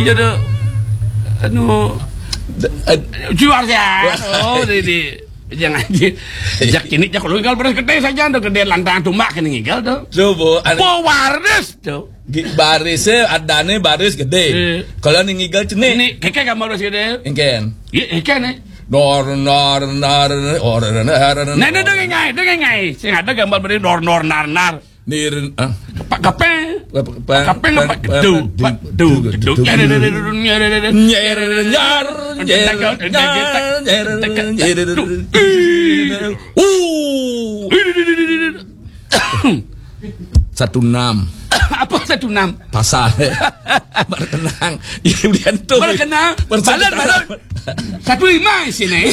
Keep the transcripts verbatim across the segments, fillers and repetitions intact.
Iya, dah. Anu, jual ya. Oh, di, di. Jangan, di. Jak ini, jak lu, kalau beres gede saja, dah, gede lantang tumbak kena ngigel, tuh. Coba, anu. Pewaris, tuh. Gi-, barisnya, adanya baris gede. Iya. Kalau nih ngigel cenik. Ini, keke gambar baris gede. Engken. Iya, engken, eh. Nor, nor, nor, or, nor, nor, nor. Nah, nah, dengar ngai, dengar ngai. Sing ada gambar beri nor, nor, nar, nar. Nir, ah. Pak Kapeng. Pak Kapeng apa? Gedu, Pak, du, gedu. Nyer, nyer, nyer, nyer, nyer. Uh. Satu enam. Apa satu enam? Pasal. Berkenang. Iya, udah tuh. Berkenang. Balas, balas. Satu lima sini.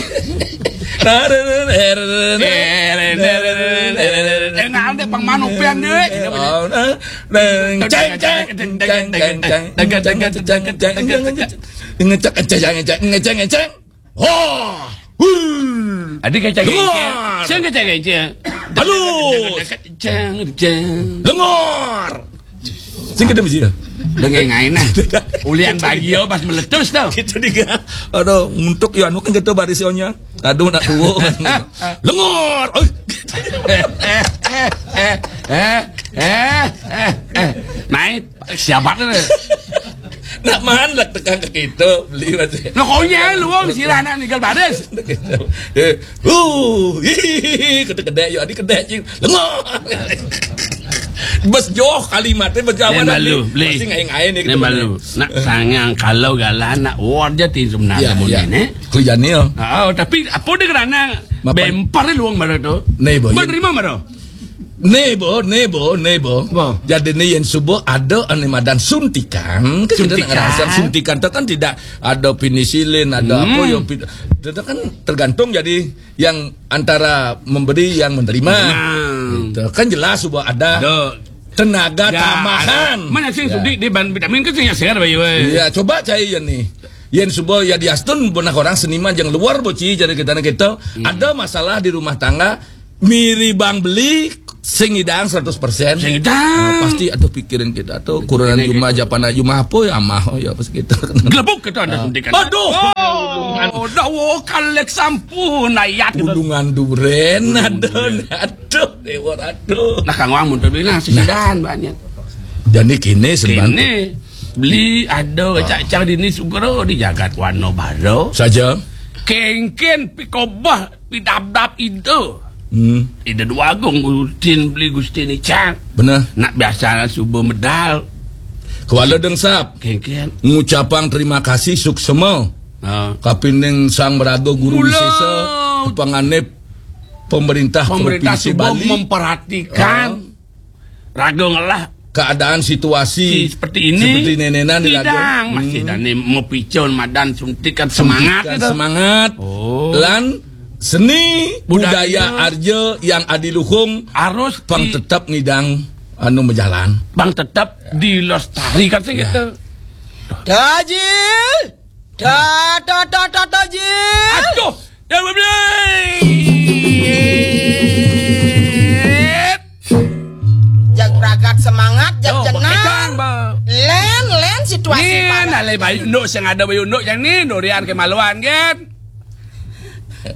Nah, nah, nah, nah, nah, nah. Eh, nah, nah, nah, nah, nah, nah. Eh, nah, ada pang mano pian, deh. Oh, nah, nah, ceng, ceng, ceng, ceng, ceng, ceng, ceng, ceng, ceng, ceng, ceng, ceng. Ngecek, ngecek, ngecek, ngecek, ngecek. Oh, huh. Adi kecek, ngecek. Dengar. Saya kecek, ngecek. Halo. Ceng, ceng. Dengar. Sing kedem sih ya. Dengan ngain, nah. Ulian bagio pas meletus, tuh. Gitu juga. Aduh, untuk ya anu kan gitu barisionya. Aduh, nak tuwo. Lengur. Oh. Eh, eh, eh, eh, eh, eh, eh. Naik, siapa tuh? Nak mandek tekan ke gitu, beli masih. Nah, konyol lu, wong sirah anak ninggal baris. Eh, uh, hihihi, gede-gede, yo, adi gede, cing. Lengur. Bes joh kalimatnya, bes jawaban. Nen balu, beli. Pasti ngain-ngain nih, nen gitu, balu. Nak sangang kalau galah nak word aja tim sebenarnya. Iya, iya. Mungkin, eh. Kelihatannya, ya. Ah, tapi apa dia kerana bemper luang baru tu? Nih, boh. Menerima baru? Nih, boh, nih, boh, nih, boh. Apa? Jadi nih yang subuh ada ane madan suntikan. Kan kita nak ngerasa suntikan tu kan tidak ada penicillin, ada apa yang pin-, itu kan tergantung jadi yang antara memberi yang menerima. Nah. Gitu. Kan jelas bahwa ada tenaga tambahan. Mana sih sudi di ban vitamin kan sih segar bayu, eh. Iya, coba cai ya nih. Yen suba ya diastun bonah orang seniman yang luar boci jadi kita kita. Ada masalah di rumah tangga, miri bang beli sing idang seratus persen. Sing idang. Nah, pasti ada pikiran kita tuh kurangan jumlah, japana jumlah apa ya, amah, oh ya, pas gitu. Gelebuk kita ada suntikan. Aduh. Oh, dawa kalek sampun ayat gitu. Gunungan duren, aduh, aduh, dewa, aduh. Nah, Kang Wang mun tadi lah sisidan banyak. Jadi kini sebenarnya kini beli ada cacang dini sugro di jagat warna baru. Saja. Kengken pikobah pidabdab ide. Hmm. Ide Dua Agung Gustin beli Gustin Icang. Benar. Nak biasa subuh medal. Kuala Dengsap. Kengken. Ngucapang terima kasih suksema. Ha. Kapining Sang Meraga Guru Mula. Wisesa, panganib pemerintah, pemerintah Provinsi Bali memperhatikan. Ha. Raga ngelah keadaan situasi seperti ini, seperti nenenan di raga. Masih dani mepicun madan suntikan semangat suntikan itu. Semangat. Oh. Lan seni budaya, budaya Arja yang adiluhung harus pang di-, tetap ngidang anu majalan. Pang tetap dilestarikan sih ya. Gitu. Tajil. Da, da, da, da, da, Jil. Aduh, ya, Bebet. Jak pragat semangat, jak jenang. Len, len situasi. Nih, panas. Nalai bayu nduk, sing ada bayu nduk, yang nih, durian kemaluan, kan?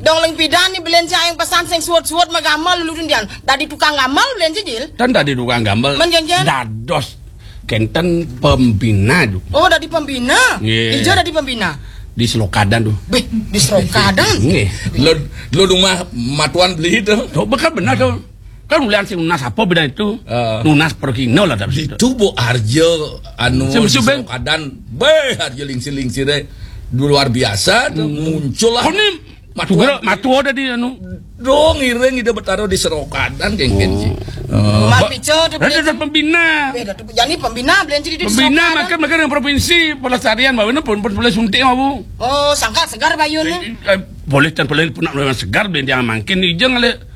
Dong ling pidan nih, belen cai yang pesan sing suot-suot magamal, lu dundian. Dadi tukang gamal, belen cai, Jil. Dan dadi tukang gamal. Men, Jen, Jen. Dados kenten pembina juga. Oh, dadi pembina. Nggih. Ija dadi pembina. Di Selokadan tuh. Beh, di Selokadan. Nggih. Lo, lo rumah matuan beli itu. Tuh, bekas benar tuh. Kan ulian sing nunas apa beda itu? Eh. Nunas perkino lah tapi itu. Itu Bu Arjo anu di Selokadan. Beh, Arjo lingsir-lingsir deh. Luar biasa tuh, muncul lah. Kok nih Matuan. Sugro, matuo dadi anu. Dong, iring ida betaro di Serokadan, kengken, oh. Ci. Oh. Rumah pico tu, Datuk pembina. Eh, Datuk, jadi pembina, belen ciri di Serokadan. Pembina, makan, makan dengan provinsi, pelestarian, bawa pun, pun boleh suntik, mau. Oh, sangka segar bayun, eh, eh, boleh, tan boleh, pun nak segar, belen dia makin, ijeng, le.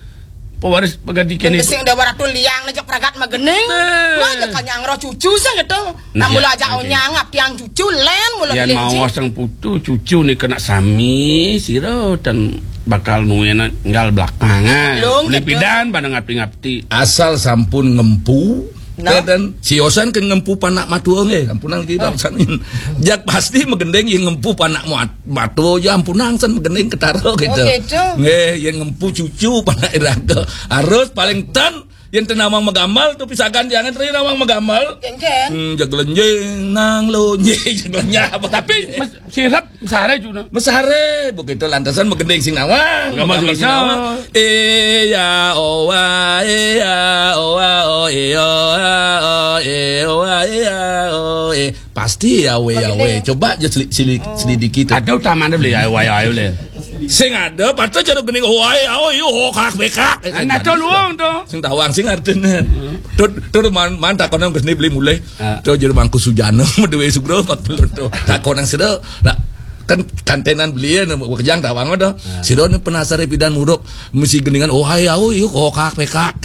Pewaris pegadi kene. Sing Dewa Ratu liang nejak pragat magening. Eh. Wah, ya kanyang roh cucu sing gitu. Nah, mula aja onyang ap tiang cucu len mula. Yang mau sang putu cucu ni kena sami sira dan bakal nuena nggal belakangan. Pidan pada ngapti-ngapti. Asal sampun ngempu, Nah. Ten, ten, siosan kan ngempu panak matua nggih, ampunang kita sanin. Jak pasti magending yang ngempu panak mat-, matua, ya ampunang san magending ketara gitu. Oh, gitu. Nggih, yang ngempu cucu panak iraga. Harus paling ten, yang tenawang magamal tuh pisagan jangan teri nawang magamal. Kengken. Hmm, jag lenjing, nang lonjing, jag lenjing apa? Tapi mes-, sirap mesare juga. Mesare, begitu lantasan magending sing nawang. Nggak masuk sing nawang. Iya, owa, iya, owa, oh, iya, oh, iya, owa, iya, oh, iya. Pasti ya, we, ya, we. Magending. Coba aja seli-, seli-, oh, selidiki tuh. Ada utamanya beli, ayo, ayo, ayo, le. Sing ada, patut cara gending, owa, iya, oh, iya, oh, kak, bekak. Nah, tuh luang tuh. Sing tawang, sing artinya. Tuh, tuh man, man, tak kono gending beli mulai. Ah. Tuh jadi Mangku Sujana, duwe sugro empat puluh tuh. Tak kono sida. Nah, kan kantenan beli ya, nama kejang tawang tuh. Ah. Sida ni penasaran pidan muruk, mesti gendingan, oh, hai, oh, iya, kokak, pekak.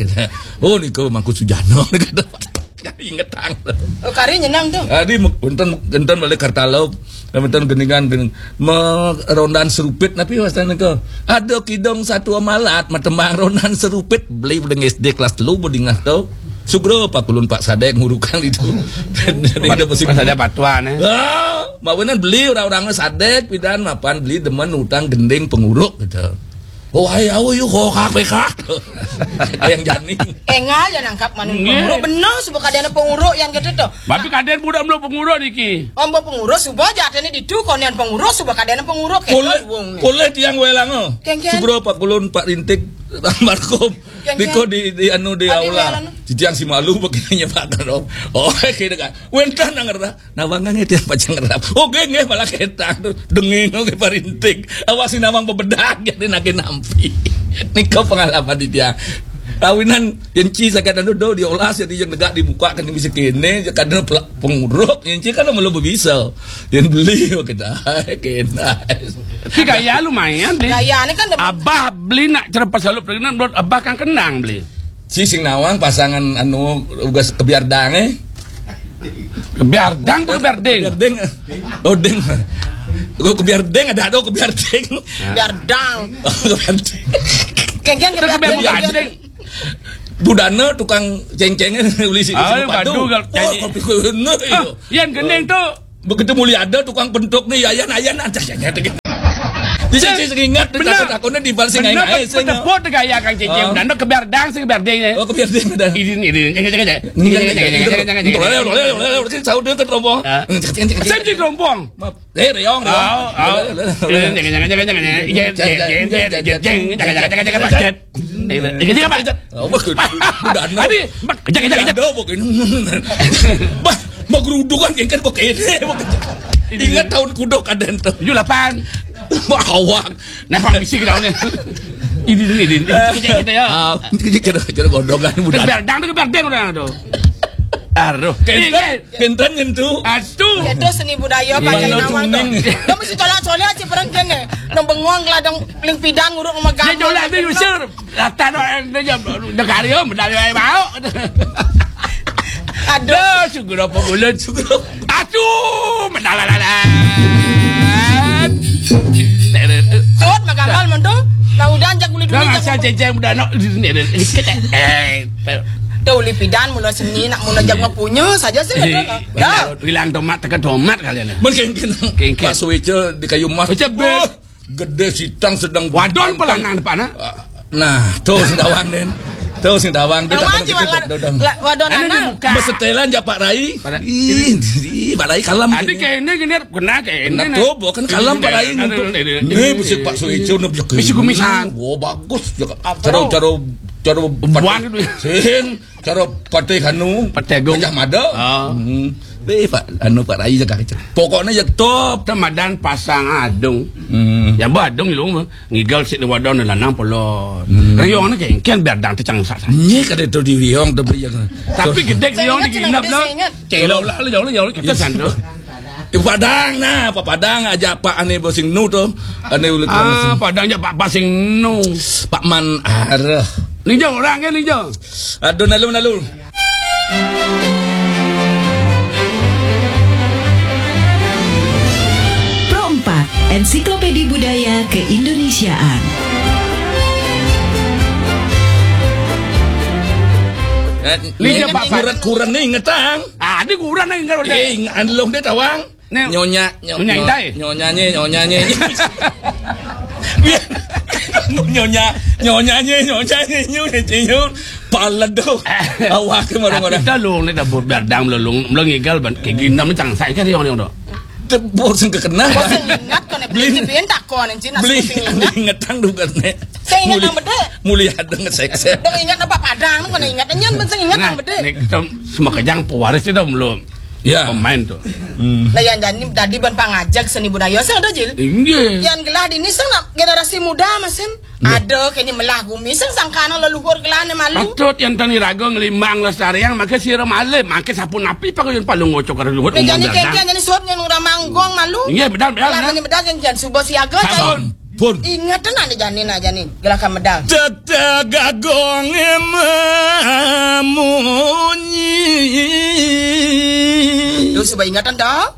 Oh, niku Mangku Sujana. Inget ang. Oh, kari nyenang tuh. Adi, enten, enten balik Kartalo. Enten gendingan, gending. Me-, rondan serupit, tapi wastane ke. Ada kidong satu amalat, matembang rondan serupit, beli udah S D kelas telu, bodingah tuh. Sugro, Pak Kulun, Pak Sadek, ngurukan itu. Dari Pak, ada musim Pak Sadek patuan, eh. Ah, mawinan beli orang-orang Sadek, pidan mapan beli demen utang gending penguruk gitu. Oh, hai, au, yuk, kok, kak, kak. Yang jani. Engal ya nangkap manu. Nggih. Penguruk bener, suba kadene penguruk yang gitu tuh. Tapi kaden budak belum penguruk niki. Ombo penguruk, suba jatene ditu, konen penguruk, suba kadene penguruk, kayak boleh, wong nih. Boleh tiang welang, oh. Kengken. Sugro, Pak Kulun, Pak Rintik, almarhum. Kengken. Niko di, di anu, di aula. Welang. Titiang si malu, begini, Pak, kan, oh. Oh, kayak gitu kan. Wenten nang ngerti. Nah, bangga nggih tiang pacang ngerap. Oh, nggih, nggih, malah ketang tuh. Denging, oke, parinting. Awak si nawang bebedak, jadi nake nampi. Nika pengalaman di tiang. Kawinan, yang ci sakit anu do, diolah, jadi yang negak dibuka, kan bisa kene, kadang pela-, penguruk, yang ci kan malu berbisa. Yang beli, oh, kita, kena. Si gaya lumayan, deh. Gaya ini kan demen. Abah beli nak cerpas lalu perkenan, belum abah kan kenang beli. Si sing nawang pasangan anu ugas kebiardang, eh. Kebiardang tuh kebiarding. Kebiarding. Oh, ding. Gua kebiarding ada, ada kebiarding. Biardang. Oh, kebiarding. Kengken itu kebiarding. Kebiarding. Budana tukang cengceng uli si, ah, si padu. Padu, kalau oh, cengceng. Kopi kuno, ah, iyo. Yang gending tuh. Begitu mulia ada tukang pentuk nih, ayan, ayan, aja, aja, aja. Di sini sing ingat, bener. Takut-takutnya di bal sing bener, aing, aing, sing penepuk teh gaya Kang Cecep. Oh. Dan kebiardang sing kebiarding ya. Oh, kebiarding ada. Idin, idin. Ini, ini, ini, ini, ini, ini, ini. Boleh, boleh, boleh, boleh, sing sahur dia ke terompong. Ah. Sing di terompong. Maaf. Eh, reong, reong. Oh, oh. Boleh, boleh, boleh. Ini, ini, ini, ini, ini, ini. Iya, iya, iya, iya, iya, iya, iya, iya, iya, iya, iya, iya. Ini apa? Oh, bagus. Tadi, mak, kejak, kejak, kejak. Ada, pokoknya. Bah, mau gerudukan, kan, pokoknya. Ingat tahun kudo kadang tuh. Tujuh delapan. Wah, awak. Nah, Pak, misi kita ini. Ini, ini, ini. Kejak kita ya. Ah, kejak, kejak, kejak, godongan, udah. Kebiardang tuh, kebiardang udah tuh. Aduh. Kenten, kenten nyentuh. Aduh. Itu seni budaya pakai nawang tuh. Dia mesti colak-colak aja perang kene. Nang bengong, ladang, ling pidan, nguruk, memegang. Dia colak, dia usir. Rata no, dia jam, dia karyo, medali wae mau. Aduh. Aduh, sugro apa bulan, sugro. Aduh, medalalan. Sud, magamal mentu. Nah, udah anjak kulit dulu, nah, asal ceceng udah no. Eh, tuh lipidan mula seni, nak mula jam punya saja sih. Dah. Bilang tomat, tekan tomat kalian. Mungkin, mungkin. Pak Suwice di kayu emas. Suwice, oh. Gede sitang sedang wadon pala nang depan, ah. Nah, tuh sing tawang, Den. Tuh sing tawang, dia tak pernah gitu, wadon. Wadon anak. Besetelan ja Pak Rai. Ih, ih, Pak Rai kalem. Ada kayak ini, gini, kena kayak ini. Kena tuh, bukan kalem Pak Rai nyentuh. Ini besi Pak Suwice, udah bisa. Besi kumisan. Wah, bagus. Cara, cara, cara buang itu. Sing. Cara Patih anu, Patih Agung. Gajah Mada. Ah. Hmm. Weh, Pak, anu, Pak Rai jaga kecil. Pokoknya ya top. Temadan pasang adung. Hmm. Ya, bah, adung lu mah. Ngigal si wadon lanang polon. Hmm. Riong ni kan, kan biar dang tecang sak. Nye kada tu di riong tu beli yang. Tapi gede riong di inap lah. Celo lah, jauh lah, jauh lah, kita sandu. Di Padang nah, Pak Padang aja Pak ane bosing nu tu. Ane ulit. Ah, Padang aja Pak Basing nu. Pak Man arah. Linjo orang kan linjo. Aduh, nalu, nalu. Pro empat, Ensiklopedi Budaya Keindonesiaan. Lija bapak. Kuret-kuret nih ingetang. Ah, di kuret nih inget udah. Eh, ing-, anlong deh tawang. Nih. Nyonya, nyo-, nyonya nyo-, intai. Nyonyanye, nyonyanye. Nyonya, nyonyanye, nyonyanye, nyo, nyo, nyo. Paledo. Awak ke marang orang. Kita lu nih dapur berdang lu, lu, lu ngigal ban, kayak gini, namanya cang saya kan yang orang tuh. Tebur sing kekena. Kok sing ingat kene beli, beli, beli takon, Cina, beli sing ingat. Ingetang duga ne. Sing ingat nang bede. Muli ada ngesek-sek. Dong ingat apa padang, kene ingat. Nyen ben sing ingat nang bede. Nek kita semua kejang pewaris itu belum. Ya. Pemain tuh. Nah, yang jadi tadi ban pangajak seni budaya sing ada, Jil. Inggih. Yang gelah di ini sing nak generasi muda, Masin. Ada kene melah gumi sing sangkana leluhur gelane malu. Patut yang tani raga ngelimbang lestariang, maka sira malih, maka sapu napi pakaian palu ngocok karo luhur. Nah, jani kengkian jani suut yang ora manggong malu. Iya, benar, benar, benar. Ini benar kengkian suba siaga. Sampun. Pun. Ingat tenan jani, nah, jani gerakan medal. Tetagagong mamunyi. Tuh, suba ingatan dah.